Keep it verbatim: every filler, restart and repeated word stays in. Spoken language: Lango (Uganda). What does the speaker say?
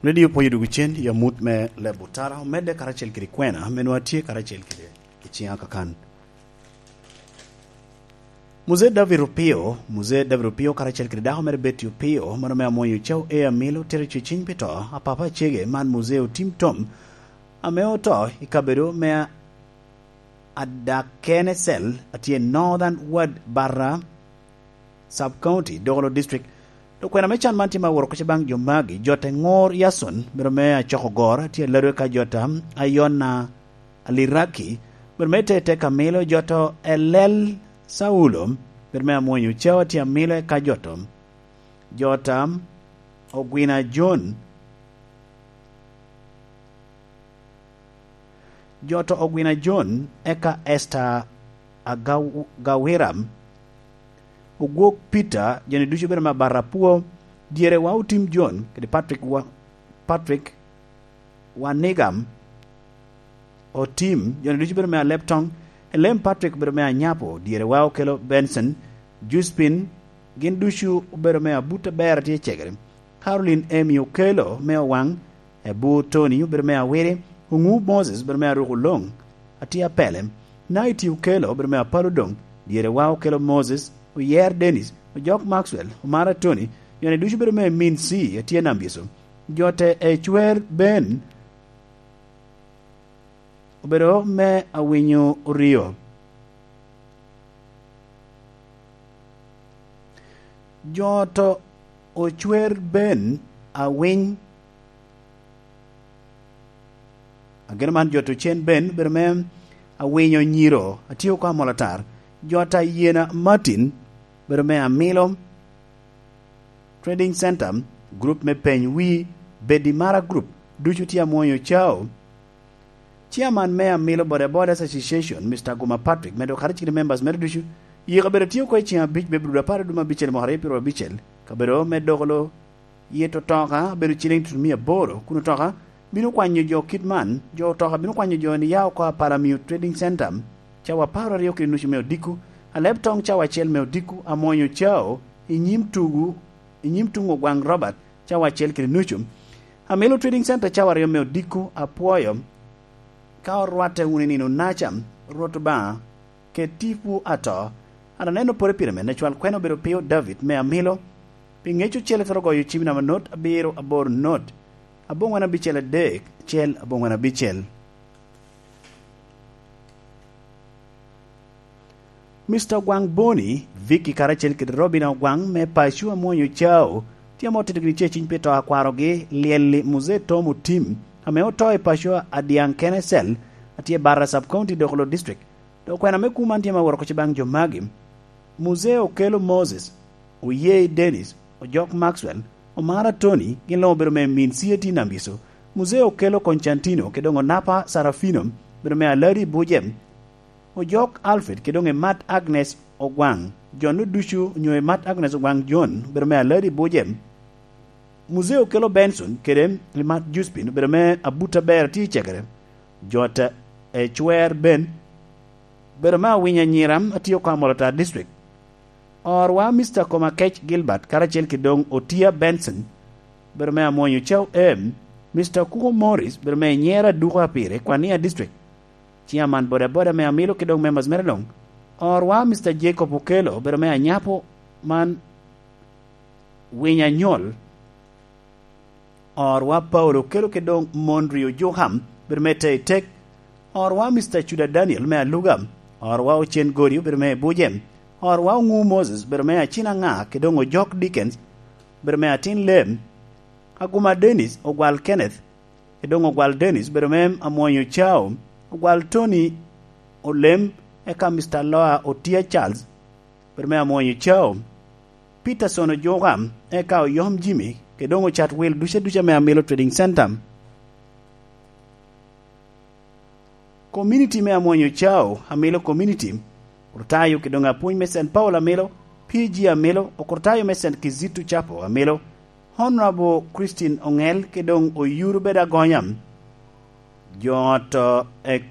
Radio Pwonyo Dwogo Cen, i amut me Leb Otara, omedde karacel kede kwena, ame nwa tye karacel kede i ciŋa kakan. Muzee David Opio, Muzee David Opio karacel kede dako mere Betty Opio, mano me Amwonyo Ocau A. Amilo, tero ceciny pi to a papa acege man Muzee Otim Tom, ame oto i kabedo me Adakene Cell, atye i Northern Ward Barra Sub County, Dokolo District. Dok kwena me can man tye ma woro kuca baŋ jo magi: Jota Eŋor Yason, bedo me Acokogor, tye alado eka Jota Ayona Aliraki, bedo me Tete Kamilo, Jota Elel Saulo, bedo me Amwonyo Ocau, tye Amilo, eka Jota, Jota Ogwina John, Jota Ogwina John, eka Esther Agaw-, Gawiram, Ogwok Peter, joni ducu bedo me Abarapwo, dyere wa Otim John, kede Patrick wa-, Patrick Wanigam Otim, joni ducu bedo me Aleptong, Elem Patrick bedo me Anyapo, dyere wa Okelo Benson, Juspin, gin ducu obedo me Abut Aber atye cegere, Caroline Emi Okelo me Owaŋ, Ebur Tony obedo me Awiri, Oŋu Moses obedo me Aruko Loŋ, atye Apele, Naiti Okelo obedo me Apalo Doŋ, dyere wa Okelo Moses, Oyer Dennis, Ojok Maxwell, Omara Tony, joni ducu bedo me Min C, atye Nambiso, Jota Ecwer Ben obedo me Awinyo Oryo. Jota Ocwer Ben Awiny, ageno man Jota Ocen Ben, bedo me Awinyo Nyiro, atye oko Amolatar. Jota Yena Martin, bedo me Amilo Trading Center, group me Peny Wi, Bedi Mara Group, ducu tye Amwonyo Ocau. Chairman me Amilo Boda Bodas Association, Mister Guma Patrick, medo kadi cik members mere ducu, i kabedo tye oko i ceng abic me Abril apar aduma abicel mwaka aryo pyero abicel, kabedo me Dokolo, yet otoka bedo ciliŋ tutumia aboro, kun otoka bino kwanyo jo kit man, jo otoka bino kwanyo jo ni ya oko Apala Miyo Trading Center, cawa apar aryo kede nucu me odiko, Aleb Toŋ cawa acel me odiko, Amwonyo Ocau, i nyim tugu, i nyim tuŋ Ogwaŋ Robert, cawa acel kede nucu. Amilo Trading Center cawa aryo me odiko, apwoyo. Ka orwatte wunu i nino naca, Rwot Obaŋa, kede tipo ato, an aneno pore pire me necwal kwena obedo Pio David me Amilo, pi ŋec ocele twero goyo cim namba not abiro aboro not, aboŋwen abicel adek, acel aboŋwen abicel. Mister Ogwaŋ Boni, Vicky karacel kede Robina Ogwaŋ me paco Amwonyo Ocau, tye ame otito gini ceciny pi to a kwarogi, lyel-li Muzee Tom Otim, ame oto i paco a Dyaŋ Kene Cell, atye Barra Sub County, Dokolo District. Dok kwena me kuman tye ma woro koc baŋ jo magi: Muzee Okelo Moses, Oyei Dennis, Ojok Maxwell, Omara Tony, gin luŋ obedo me Min City Nambiso, Muzee Okelo Constantino, kede doŋ Onapa Sarafino, obedo me Aladi Bujem, Ojok Alfred, kede doŋ Emat Agnes Ogwaŋ, jo-nu ducu onyo Emat Agnes Ogwaŋ John, obedo me Aladi Bujem, Muzee Okelo Benson, kede Emat Juspin, obedo me Abut Aber atye i Cegere, Jota Ecwer Ben, obedo me Awinya Nyiram atye oko Amolatar District. Orwa Mister Komakec Gilbert karacel kede doŋ Otia Benson, bedo me Amwonyo Ocau M, Mister Kuko Morris, bedo me Nyera Duko Apire, Kwania District. Chairman Boda Boda me Amilo kede doŋ members mere doŋ. Orwa Mister Jacob Okelo, bedo me Anyapo man Winya Nyol. Orwa Paulo Okelo kede doŋ Mondri Ojuka, bedo me Teitek. Orwa Mister Cuda Daniel me Aluga. Orwa Ocen Godi, bedo me Bujem. Orwa Oŋu Moses, bedo me Acina Ŋa, kede doŋ Ojok Dickens, bedo me Atin Lem. Aguma Dennis, Ogwal Kenneth, kede doŋ Ogwal Dennis, bedo me Amwonyo Ocau. Ogwal Tony Olem, eka Mister Loa Otia Charles, bedo me Amwonyo Ocau. Peterson Ojuka, eka Oyom Jimmy, kede doŋ Ocat Wil duca duca me Amilo Trading Center. Community me Amwonyo Ocau, Amilo Community, Okurtayo kede doŋ apwony me Saint Paul Amilo, P G Amilo, Okurtayo me Saint Kizito Chapel Amilo, Honorable Christine Oŋel kede doŋ Oyuru Bedo Agonya. Jo ot, eh,